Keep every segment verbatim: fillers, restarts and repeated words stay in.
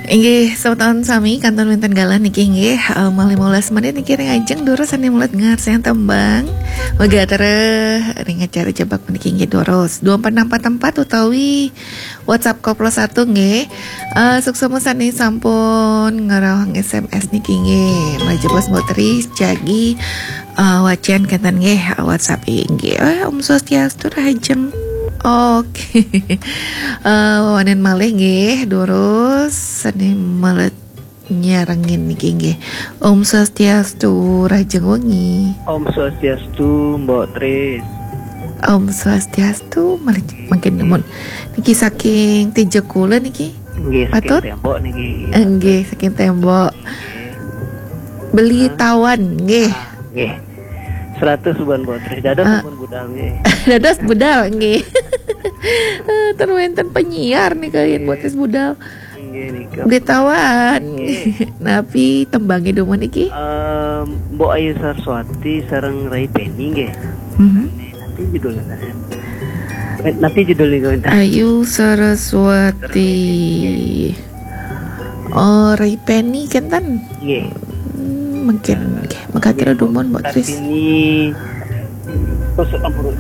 Inggih, selamat tahun sami, kantun wénten galah niki inggih, eh, malih lima belas menit niki ring ajeng durus sané melet ngarsain tembang. Mega terus ring acara jebak niki inggih durus dua empat enam empat empat utawi WhatsApp koplo satu nggih. Eh, suksma sané sampun ngrauhang S M S niki inggih. Malih jebos Mbok Tris jagi, eh, wacén kénten nggih, eh, WhatsApp inggih. Eh, Om Swastiastu rahajeng. Oke. Eh, wénten malih nggih, durus sané melet nyarengin niki nggih. Om Swastiastu, rahajeng wengi. Om Swastiastu, Mbok Tris. Om Swastiastu, malih mangkin nuwun. Niki saking Tijekula niki. Nggih, saking Patut? Tembok niki. Eh, nggih, saking Tembok. Beli Hah? Tawan nggih. Ah, nggih. Seratus bulan Mbok Tris. Dados Ah. Sampun budal nggih. Dados budal nggih. Eh, ten wénten penyiar nika yén Mbok Tris budal. Inggih nika. Beli Tawan. Inggih. Napi tembangé dumun niki? Em, Mbok Ayu Saraswati sareng Rai Peni nggih. Mhm. Napi judulnya? Eh, napi judulnya, Mbok? Ayu Saraswati. Oh, Rai Peni kénten? Nggih. Hmm, mungkin nggih. Mekaten dumun, Mbok Tris. Kartini. Terus ampun.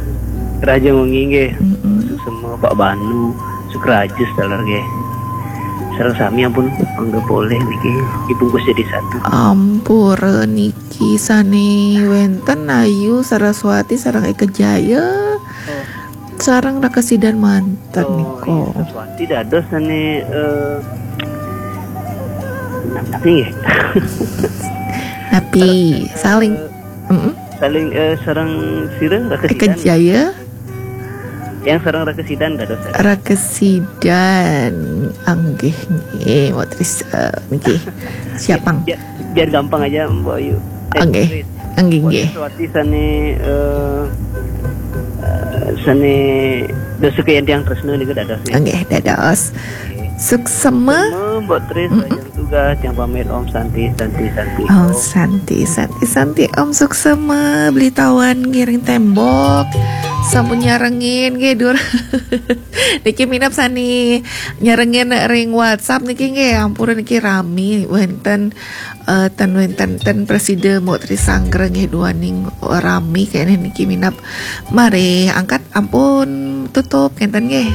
Rahajeng wengi nggih. Mm-mm. Suksma Pak Banu, Sukraja setelah nggih. Sareng sami ampun, anggap oleh niki dibungkus jadi satu. Ampura niki sané wénten Ayu Saraswati sareng Eka Jaya. Oh. Sareng Raka Sidan manten. Oh, nika. Iya, Saraswati dados sané, eh, napi nggih? Napi, saling, eh, mm-mm. Saling, eh, sareng sira Raka Sidan. Eka Jaya. Yang sareng Raka Sidan dados. Raka Sidan, anggih nggih, Mbok Tris, eh, niki. Siapang. Ya, biar gampang aja, Mbok Ayu. Eh, Nggih. Tris. Nggih, Mbok nggih. Tris Wati sané, eh, eh, sané dosa kayang tiang tresna nika dados, nggih. Nggih, dados. Nggih. Suksma. Suksma, Mbok Tris, Mm-mm. Rahajeng tugas, tiang pamit, Om Santi, Santi, Santi, Om Om. Santi, Santi, Santi, Om suksma, Beli Tawan ngiring Tembok. Sampun nyarengin, nggih, dur. Niki minab sané nyarengin ring WhatsApp niki, nggih, ampura niki rami, wénten eh, ten wénten ten prasida Mbok Tris Anggra nggih duaning rami kéné niki minab. Mari angkat ampun tutup kénten nggih.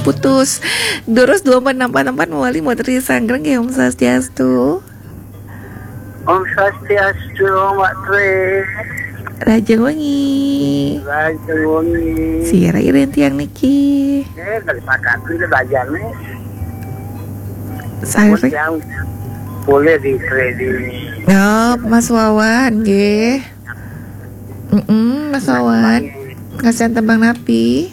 Putus. Durus dua empat enam empat enam empat mawali Mbok Tris Anggra nggih. Om Swastiastu. Om Swastiastu, Mbok Tris. Rahajeng wengi. Rahajeng wengi. Sira iring tiang niki. Eh, dari Pakati le bajane. Sari. Yang boleh di kredit. Oh, Mas Wawan nggih. Mm-mm, Mas Wawan. Ngasih tembang napi?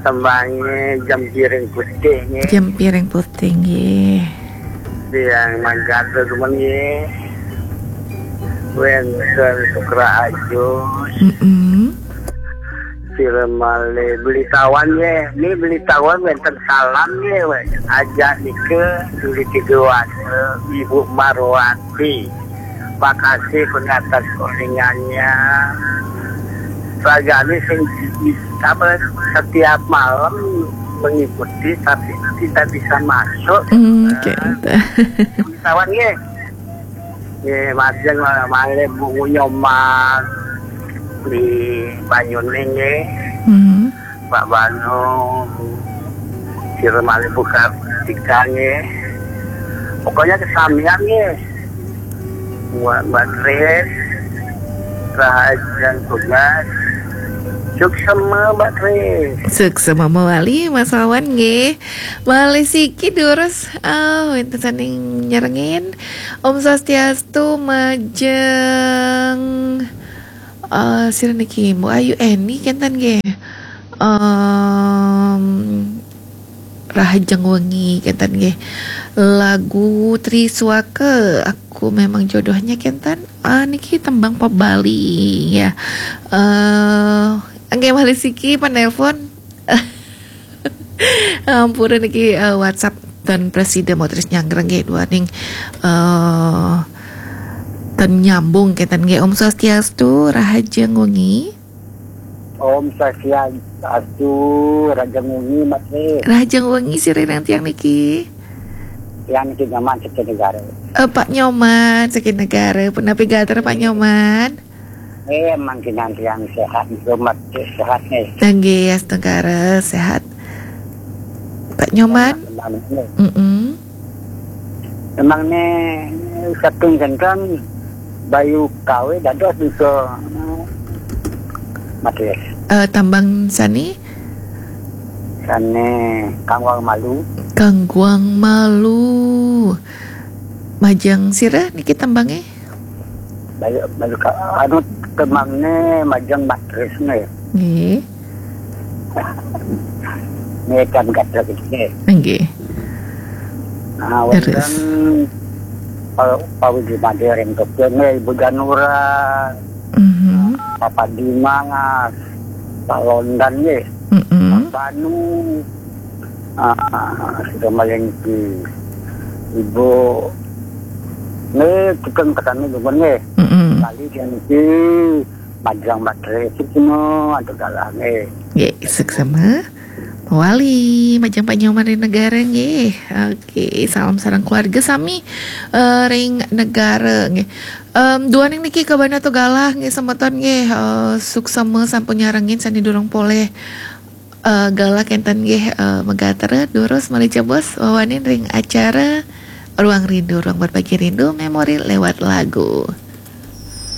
Tembangnya Jam Piring Putih nggih. Jam Piring Putih nggih. Yang mangkat teman nggih. Wénten Sukra Ajus. Mm-mm. Sira malih Beli Tawan nggih. Ini Beli Tawan wénten salam nggih, wéh. Ajak nika Beli Tiga Wasa, Ibu Marwati. Makasih pun atas kolingannya. Ragane sing di-, apa, setiap malam mengikuti tapi tidak bisa masuk. Hmm, oke. Beli Tawan nggih. Nggih, majeng malih Bu Nyoman di Banyuning nggih. Hmm. Pak Banu, sira malih Bu Kartika nggih. Pokoknya kesamian nggih. Buat Mbak Tris, rahajeng tugas. Suksema Mbak Tris. Suksema mawali Mas Wawan nggih. Malih siki durus, ah, wénten sané nyarengin. Om Swastiastu, majeng, eh, sira niki, Mbok Ayu Eni kénten nggih. Em, rahajeng wengi kénten nggih. Lagu Triswaka, Aku Memang Jodohnya kénten. Ah, niki tembang pop Bali ya. Eh, nggih malih siki penelpon. Ampura niki, eh, WhatsApp ten prasida Mbok Tris Anggra nggih duaning, eh, ten nyambung kénten nggih. Om Swastiastu, rahajeng wengi. Om Swastiastu, rahajeng wengi, Mbok Tris. Rahajeng wengi sira iring tiang niki. Yang Ki Nyoman saking Negara. Eh, Pak Nyoman saking Negara. Punapi galah Pak Nyoman? Eh, mangkin nanti yang sehat, rumah sehat nih. Nggih, Negara sehat. Pak Nyoman? Memang nih, Mm-mm. memang nih saking genteng Bayu Kawe dados bisa matris. Eh, tambang sani? Sane Kangguang Malu. Kangguang Malu. Majeng sira niki tembangnya? Bayu, Bayu Ka-, anu tembangne majeng matris nih. Nggih. Nih kan kata gitu nih. Nggih. Nah, Terus? Wonten Pak Pak Widi Made ring Tokyo nih, Ibu Janura, Mhm. Papa Dimas, Pak Londan nih, Mm-mm. Pak Banu, ah, sudah malengki Ibu. Nih, kita ketemu dulu nih. Mm-mm. Kali dia niki majeng matris itu no, ada galahnya. Nggih, suksema. Mawali, majeng Pak Nyoman ring Negara nggih. Oke, salam sareng keluarga sami eh, ring Negara nggih. Em, duaning niki kabana to galah nggih semeton nggih. Eh, suksema sampun nyarengin sane durung polih eh, galah kenten nggih eh, megatra durus malih jebos wawanin ring acara Ruang Rindu, Ruang Berbagi Rindu, Memori lewat lagu.